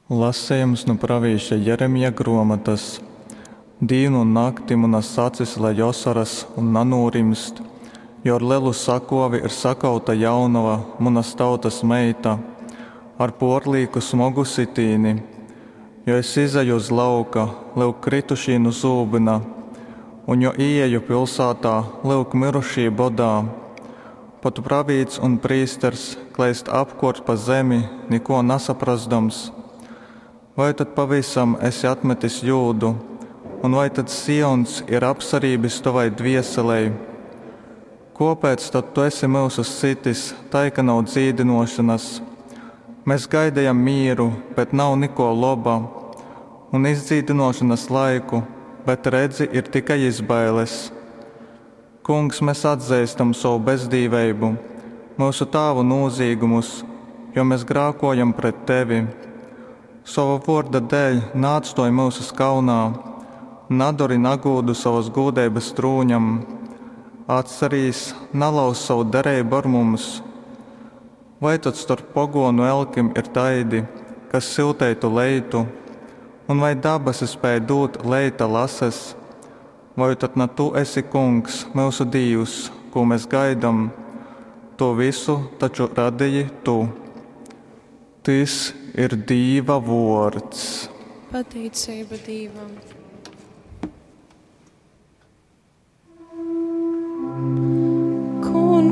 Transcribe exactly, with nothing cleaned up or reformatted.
Lasejums nu pravīša Jeremija gruomotas. Dīnu un nakti munas acis lej osoras un nanūrimst, jo ar lelu sakuovi ir sakauta jaunova, munas tautas meita, ar puorlīku smogu sitīni. Jo es izeju uz lauka, lyuk, krytušī nu zūbyna, un jo īeju pilsātā, lyuk, myrušī bodā. Pat pravīts un prīsters kleist apkuort pa zemi, nikuo nasaprozdams. Vai tad pavysam esi atmetis Jūdu, un vai tad Sions ir apsarībis tovai dvieselei? Kōpēc tad tu esi myusus sitis tai, ka nav dzīdynōšonas? Mes gaidejam mīru, bet nav nikō loba, un izdzīdynōšonas laiku, bet, redzi, ir tikai izbailes. Kungs, mes atzeistam sovu bezdīveibu, myusu tāvu nūzīgumus, jo mes grākōjam pret tevi. Sova vōrda dēļ naatstōj myusus kaunā, nadori nagūdu sovas gūdeibas trūņam. Atcerīs, nalauz sovu dereibu ar mums. Vai tad storp pogōnu elkim ir taidi, kas syuteitu leitu, un vai dabasi spēj dūt leita lases? Voi tad na tu esi Kungs, myusu Dīvs, kū mes gaidom? Tū vysu taču radeji tu. Tys ir Dīva vōrds. Pateiceiba Dīvam.